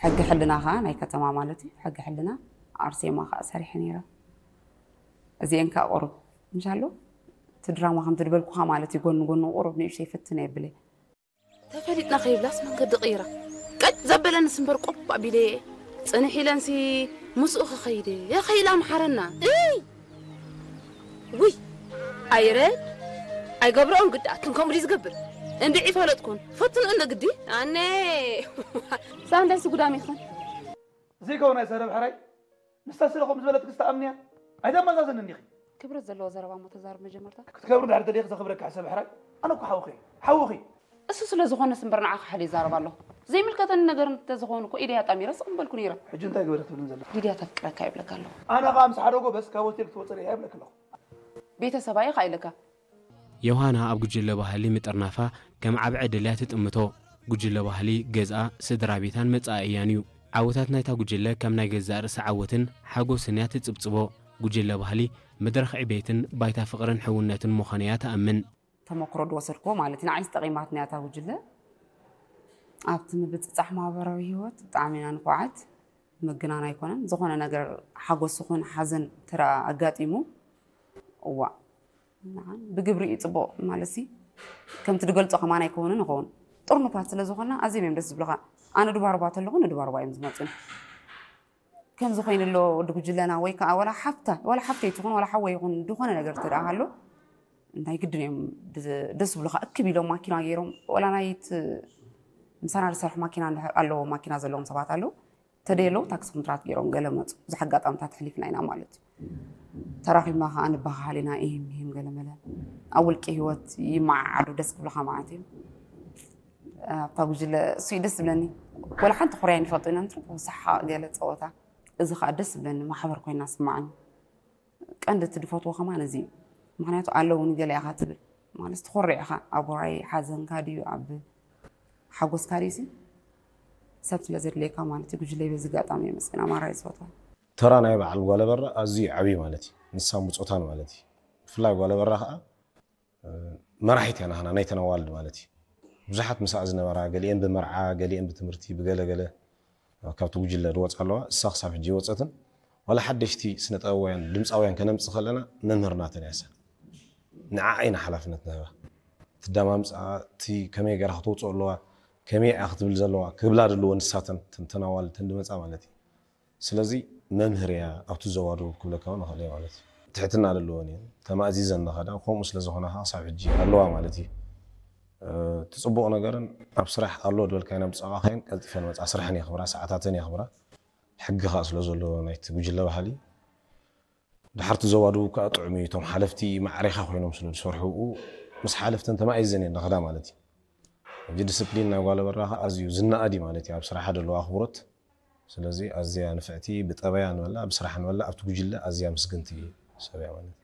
ሕጊ ሕልና ከዓ ናይ ከተማ ማለት እዩ። ሕጊ ሕልና ኣርሴማ ከዓ ሰሪሐ ነይረ። እዚአን ከዓ ቁሩብ እንሻሎ እቲ ድራማ ከምቲ ድበልኩኻ ማለት እዩ፣ ጎኒ ጎኒ ቁሩብ ንእሽተይ ፍትን የብለ። ተፈሊጥና ከይብላስ መንገዲ ቀይራ ቀጥ ዘበለንስ እምበር ቆብ ኣቢለ እየ። ፅንሕ ኢለንሲ ምስኡ ክኸይድ እየ። ከይላ ምሓረና እይ ውይ ኣይረ ኣይገብረኦን ግዲ ኣትን ከምኡ ድዩ ዝገብር? እንድዒ ፈለጥኩን ፈትኑ እንደ ግዲ ኣነ እዛ እንታይ ስጉዳም ይኽን? ዘይከውን ኣይሰረብ ሕራይ ንሳ ስለ ከምኡ ዝበለት ክስተኣምንያ ኣይተመዛዘንን ኢኺ። ክብረት ዘለዎ ዘረባ እሞ ተዛርብ መጀመርታ። ክትከብሪ ድሕር ተደይክ ዘኽብረካ ሕሰብ ሕራይ ኣነ እኮ ሓውኺ ሓውኺ። እሱ ስለ ዝኾነስ እምበር ንዓኻ ሕል ይዛረብ ኣለኹ። ዘይምልከተኒ ነገር እንተዝኸውን እኮ ኢደይ ኣጣሚረ ስቕ ምበልኩ ነይረ። ሕጂ እንታይ ግበር ክትብልን ዘለኺ? ሊድያ ተፍቅረካ ይብለካ ኣለኹ። ኣነ ኸኣ ምስ ሓደ ጎበዝ ካብ ሆቴል ክትወፅእ እያ ይብለኪ ኣለኹ። ቤተሰባ ኢኻ ኢለካ። ዮሃና ኣብ ጉጅለ ባህሊ ምጥርናፋ ከም ዓቢ ዕድል እያ ትጥምቶ። ጉጅለ ባህሊ ገዝኣ፣ ስድራ ቤታን መጻኢያን እዩ። ዓወታት ናይታ ጉጅለ ከም ናይ ገዛእ ርእሳ ዓወትን ሓጎስን እያ ትጽብጽቦ። ጉጅለ ባህሊ መድረኽ ዕቤትን ባይታ ፍቕርን ሕውነትን ምዃኑ እያ ትኣምን። ተመክሮ ዝወሰድክዎ ማለት እዩ ንዓይስ ጠቒማትና እያ እታ ጉጅለ። ኣብቲ ምብጽጻሕ ማህበራዊ ህይወት ብጣዕሚ ኢና ንኩዓት። ምግናን ኣይኮነን። ዝኾነ ነገር ሓጎስ ይኹን ሓዘን እንተ ኣጋጢሙ እዋእ ንዓን ብግብሪ እዩ ፅቡቕ ማለትሲ ከምቲ ድገልፆ ከማን ኣይከውንን ይኸውን። ጥርኑፋት ስለ ዝኾንና ኣዝዮም እዮም ደስ ዝብሉኻ። ኣነ ድባርባ ተለኹ ንድባርባ እዮም ዝመፁኒ። ከምዚ ኮይኑ ኣሎ ወዲ ጉጅለና ወይ ከዓ ወላ ሓፍታ ወላ ሓፍተይ ትኹን ወላ ሓወይ ይኹን ዝኾነ ነገር ተደኣ ሃሎ ናይ ግድን እዮም ደስ ዝብሉኻ እክብ ኢሎም ማኪና ገይሮም ወላ ናይ ምሳና ዝሰርሑ ማኪና ኣለዎ ማኪና ዘለዎም ሰባት ኣለዉ። ተደየለዉ ታክሲ ኮንትራት ገይሮም ገለ መፁ። ብዙሕ ኣጋጣምታት ኣሕሊፍና ኢና ማለት እዩ። ተራኺብና ከዓ ንበሃሃል ኢና ኢሂም ሚሂም ገለ መለ ኣብ ውልቂ ህይወት ይመዓዓዱ ደስ ክብሉኻ ማለት እዩ። ኣብታ ጉጅለ እሱ እዩ ደስ ዝብለኒ። ወላ ሓንቲ ኮርያ ንፈልጦ ኢና ንትርፎ ሳሓቕ ገለ ፀወታ እዚ ከዓ ደስ ዝብለኒ ማሕበር ኮይና ስማዓኒ። ቀንዲ እቲ ድፈትዎ ከማን እዚ እዩ። ምክንያቱ ኣለውኒ ገለ ኢኻ ትብል ማለት ትኾርዕ ኢኻ ኣብ ወራይ ሓዘንካ ድዩ ኣብ ሓጎስካ ድዩ ሲ ሰብ ስለ ዘድልየካ ማለት እዩ። ጉጅለይ በዚ ኣጋጣሚ የመስግና ማራ እየ ዝፈትዋ። ተራ ናይ በዓል ጓለበራ ኣዝዩ ዓብዩ ማለት እዩ። ንሳ ሙፆታን ማለት እዩ። ብፍላይ ጓለበራ ከዓ መራሒት እያ ናህና ናይተን ኣዋልድ ማለት እዩ። ብዙሓት ምስኣ ዝነበራ ገሊአን ብመርዓ ገሊአን ብትምህርቲ ብገለ ገለ ካብቲ ጉጅለ ዝወፃ ኣለዋ። እሳ ክሳብ ሕጂ ይወፀትን ዋላ ሓደሽቲ ስነ ጥበባውያን ድምፃውያን ከነምፅእ ከለና መምህር ናተን እያ እሳ። ንዓኣ ኢና ሓላፍነት ንህባ። ትዳማምፅኣ እቲ ከመይ ገይራ ክተውፅኦ ኣለዋ ከመይ እያ ክትብል ዘለዋ ክብላ ድልዎ ንሳተን ተን ኣዋልድ ተን ድመፃ ማለት እዩ። ስለዚ መምህር እያ ኣብቲ ዞባ ደቡብ ክብለካ እውን እኽእል እየ ማለት እዩ። ትሕትና ዘለወን እየን ተማእዚዘን ንኸዳ ከምኡ ስለ ዝኾና ከዓ ክሳብ ሕጂ ኣለዋ ማለት እዩ። እቲ ፅቡቕ ነገርን ኣብ ስራሕ ኣሎ ዝበልካየን ኣብ ዝፀዋዕካየን ቀልጢፈን መፃ ስራሕን የኽብራ ሰዓታተን የኽብራ ሕጊ ከዓ ስለ ዘለዎ ናይቲ ጉጅለ ባህሊ ድሓር እቲ ዞባ ደቡብ ከዓ ጥዑም እዩ እቶም ሓለፍቲ ማዕሬኻ ኮይኖም ስለ ዝሰርሑ ብኡ ምስ ሓለፍተን ተማኢዘን እየን ንኸዳ ማለት እዩ። ሕጂ ዲስፕሊን ናይ ጓለ በራኻ ኣዝዩ ዝነኣድ እዩ ማለት እዩ ኣብ ስራሓ ደለዎ ኣኽብሮት። ስለዚ ኣዝያ ንፍዕቲ ብጠበያ ንበላ ብስራሕ ንበላ ኣብቲ ጉጅለ ኣዝያ ምስግንቲ ሰብ እያ ማለት እዩ።